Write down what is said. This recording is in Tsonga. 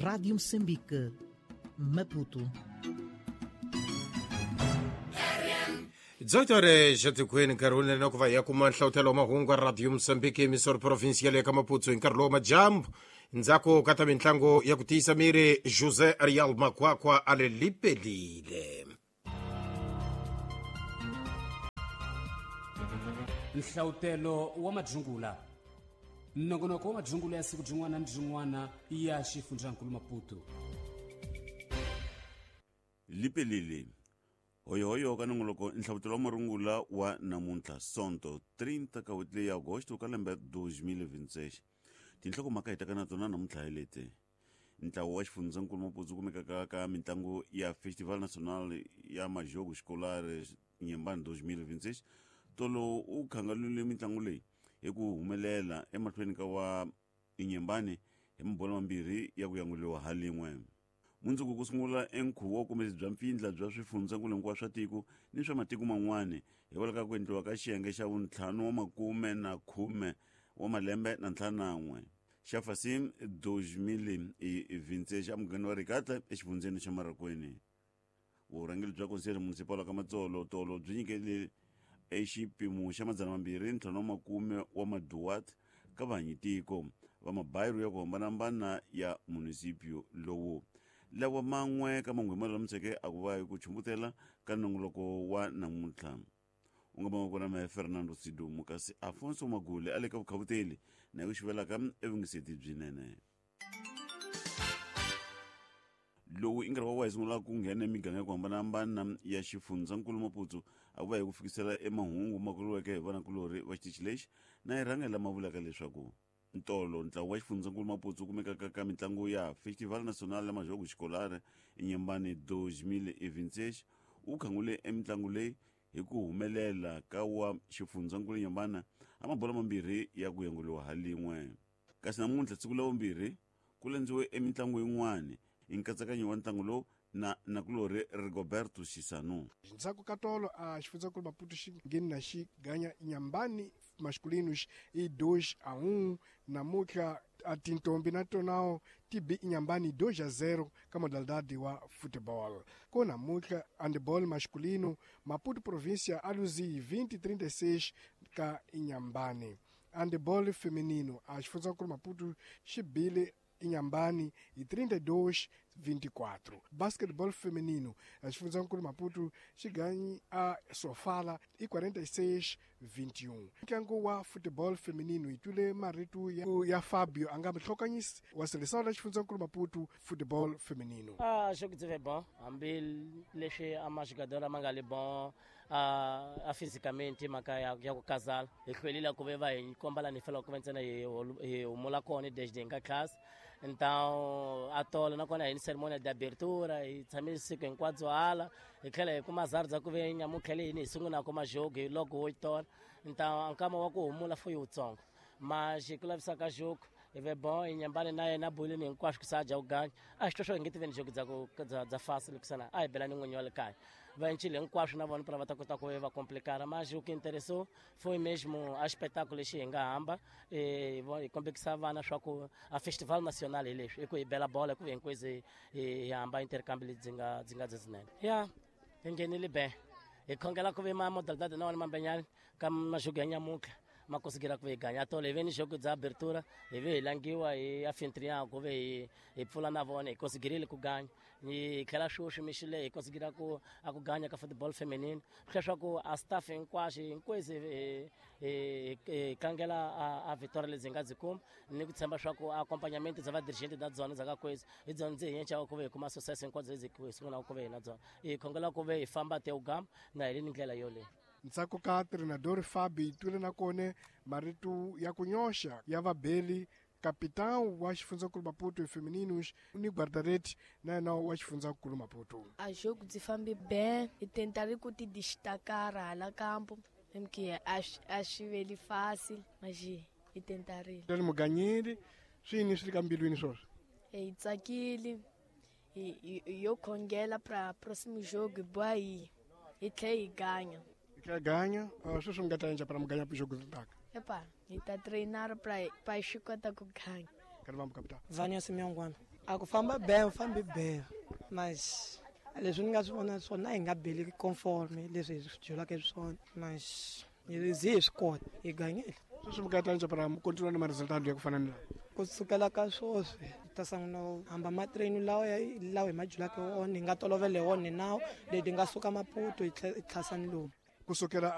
Rádio Moçambique, Maputo. 18 horas etikweni nkarhi wunene na ku va hi ya kuma nhlawutelo wa mahungu ya Radio Moçambique emisoro provincial ya ka Maputo hi nkarhi lowu majambu ndzhaku ka ta mitlangu ya ku tiyisa miri José Ariel Makwakwa a le lipelile. Nhlawutelo wa madzungula, nongonoko wa madzungula ya siku byin'wana ni byin'wana ya xifundzankulu Maputo. Lipelile hoyohoyo ka nongoloko nhlavutelo wa marungula wa namuntlha Sonto 30 ka n'hweti leyi ya Agosto ka lembe 2026. Tinhlokomhaka hi taka na tona namuntlha hi leti: ntlawa wa xifundzankulu Maputo wu kumekaka ka mitlangu ya Festival Nacional ya Majogo Escolar Inhambane 2026 tolo u khangalule mitlangu leyi hi ku humelela emahlweni ka wa Inhambane hi mabolo mambirhi ya ku yanguliwa ha lin'we. Mundzuku ku sungula enkhuvo wa vukombisi bya mpfindla bya swifundzankulu hinkwaswo swa tiko ni swa matiko man'wana hikwalaho ka ku endliwa ka xiyenge xa vuntlhanu wa makume na khume wa malembe na ntlhanu na n'we xa Fasim 2026 emugangeni wa Rikatla exifundzeni xa Marokweni. Vurhangeri bya Conselho Municipal wa ka Matsolo tolo byi nyikele exipimo xa 250 wa maduat ka vahanyitiko va mabayiro ya ku hambanahambana ya munisipio lowu. Lawa man'we ka manghwema lulamiseke a ku va hi ku chumbutela ka nongoloko wa namuntlha. U nga va kona mehe Fernando Sidumo kasi Afonso Magule a le ka vukhavuteli na ku xivelaka evungiseti byinene. Lowu i nkarhi wa wa hi sungula ku nghena emiganga ya ku hambanahambana ya xifundzankulu Maputo a ku va hi ku fikisela emahungu ma kuriweke hi vanakulorhi va xitichi lexi na hi rhanga lama vulaka leswaku ntolo ntlawa wa xifundzankulu Maputo wu kumekaka ka mitlangu ya Festival Nacional ya Majogo Escolar Inhambane 2026 wu khangule emitlangu leyi hi ku humelela ka wa xifundzankulu Inhambane a mabolo mambirhi ya ku yanguliwa ha lin'we. Kasi namuntlha siku la vumbirhi ku landziwe emitlangu yin'wana hi nkatsakanyo wa ntlangu lowu na nakulorhi Rigoberto Xisanu. Ndzhaku ka tolo a xifundzankulu Maputo xi ngheni na xi ganya Inhambane masculinos i 2-1. Namuntlha a tintombi na tonao ti bi Inhambane 2-0 ka modalidade wa football. Ko namuntlha handball masculino Maputo província a luzi 20-36 ka Inhambane. Handball feminino a xifundzankulu Maputo xi bile Inhambane hi 32-24. Basketball feminino a xifundzankulu Maputo xi ganyi a Sofala hi 46-21. Ntlangu wa football feminino hi twile marito ya Fabio a nga muhlokanyisi wa seleção la xifundzankulu Maputo football feminino. Jogo byi ve bon hambi leswi a majogador ma nga le bon a fisicamente mhaka ya ku kazala hi hlwelile ku ve va hi komba lani hi faneleke ku va ntsena hi humula kona desde hi nga class. Então a tolo nakona hi ni ceremonia de abertura hi tshame siku hinkwabyo hala hi tlhela hi kuma zari bya ku ve nyamuntlha leyi hi sungulaka majogo hi loko wo tola. Então nkama wa ku humula foi wutsongo mas ku lavisa ka jogo hi ve bon Inhambane na yena bolini hinkwaswo ku sa dya ku ganya a xi swo hi nge tiveni jogo bya ku bya fasi loko a hi bela ni n'winyi wa le kaya va encile hinkwaswo na vona pra va ta kota ku va complicar. Mas o que interessou foi mesmo a espetáculo lexi hi nga hamba hi kombekisa vana swa ku a festival nacional hi leswi i ku hi bela bola ku hinkwezi hi hamba intercambio lebyi nga byi nga byinene ya hi nghenile be hi khongela ku ve ma modalidade na wona mambenyani ka majogo ya nyamuntlha ma kusigira ku ve hi ganya tolo hi ve ni jogo bya abertura hi ve hi langiwa hi afintrian ku ve hi pfula na vona hi konsigirile ku ganya hi tlhela sweswi mixile hi konsigira ku a ku ganya ka football feminine swi swa ku a staff hinkwaxo hinkwezi hi tlangela a victoria lebyi hi nga byi kuma ni ku tshemba swa ku accompagnament bya vadirigente na byona bya ka kwezi hi byona ndzi hi yencaka ku ve hi kuma success hinkwabyo lebyi hi sungulaka ku ve hi na byona hi khongela ku ve hi famba teugama na hi le ni ndlela yoleyo. Ntsako ka treinador Fabi twile na kone marito ya ku nyoxa ya vabeli capitão wa xifundzankulu Maputo femininos ni guarda-redes na yena wa xifundzankulu Maputo. A jogo byi fambi bem hi tentare ku ti destacar hala campo porque a swi veli fácil mas hi tentarile. Ri muganyeli swi yini swi le ka mbilwini swoswo? Hi tsakile hi yo khongela pra próximo jogo hi boha hi tlhela hi ganya. Hi tlhela ganya sweswi mi nga ta endla para muganya jogo ri taka? Epa, hi ta treinar pra hi swi kota ku ganya. Ka Rivambu capital. Vania Simyongwana. A ku famba be fambi be mas leswi ni nga swi vona swona hi nga beli conforme leswi hi swi byelaka swona, mas hi zi hi swi kota, hi ganyile. Sweswi mi ka ta para continua na maresultado ya ku fana ni lawa? Ku sukela ka sweswi hi ta sungula ku hamba matrain lawa lawa hi ma byelaka wona, hi nga tolovela hi wona nawu leti nga suka Maputo hi tlhasani lomu. Kusukela.